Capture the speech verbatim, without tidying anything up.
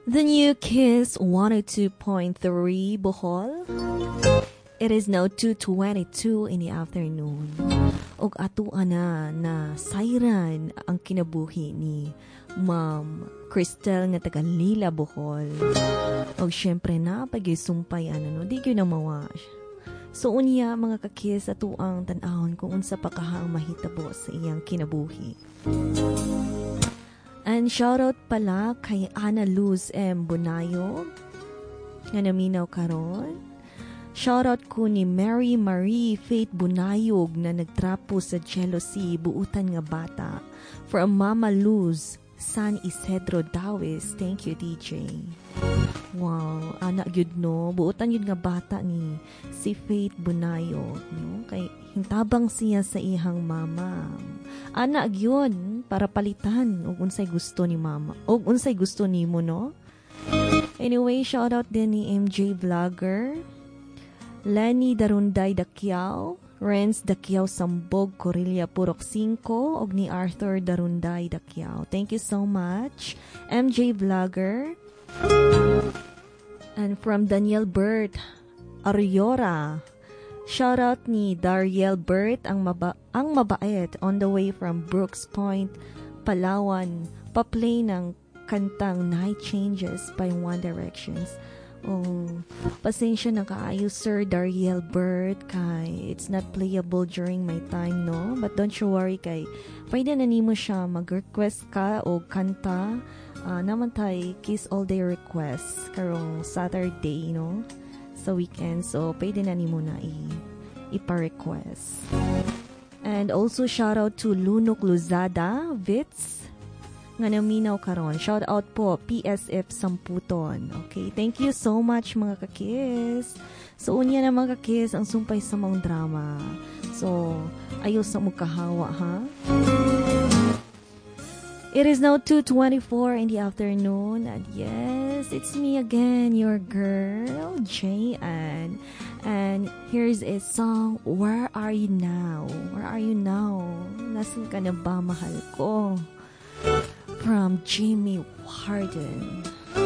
The new Kiss one oh two point three Bohol. It is now two twenty-two in the afternoon. Og ato ana na sayran ang kinabuhi ni Ma'am Cristel nga taga Lila, Bohol. Og syempre na pag sumpay ana, no, di gyud na mawa. So unya, mga kakis, ato ang tan-awon kung unsa pa kaha ang mahitabo sa iyang kinabuhi. And shoutout pala kay Ana Luz M. Bunayo nga naminaw karon. Shoutout ko ni Mary Marie Faith Bunayog na nagtrapo sa jealousy, buutan nga bata. From Mama Luz, San Isidro, Dauis. Thank you, D J. Wow, anak gyud, no. Buutan gyud nga bata ni si Faith Bunayog, no? Kay hintabang siya sa iyang mama. Anak gyud para palitan og unsay gusto ni mama. Og unsay gusto nimo, no? Anyway, shout out din ni M J Vlogger, Lenny Darunday Dakiao, Renz Dakiao Sambog Corilla Purok five og ni Arthur Darunday Dakiao. Thank you so much, M J Vlogger. And from Daniel Bert Ariora. Shout out ni Dariel Bert ang, maba ang mabait on the way from Brooks Point, Palawan. Pa-play ng kantang Night Changes by One Directions. Oh, pasensya na kaayo, Sir Dariel Bert, kay it's not playable during my time, no? But don't you worry kay pwede na nimo siya mag-request ka o kanta. Uh, naman tay Kiss All Day Request karong Saturday, no? Sa weekend. So, pwede na nimo na i ipa-request. And also, shout out to Lunok Luzada, Vitz, nga naminaw karon. Shout out po P S F Samputon. Okay, thank you so much, mga kakis. So unya na, mga kakis, ang sumpay sa maong drama. So ayaw sa mo kahawa, ha. It is now two twenty-four in the afternoon and yes, it's me again, your girl, J N. And here's a song, Where Are You Now? Where Are You Now? Nasaan ka na ba, mahal ko? From Jimmy Warden.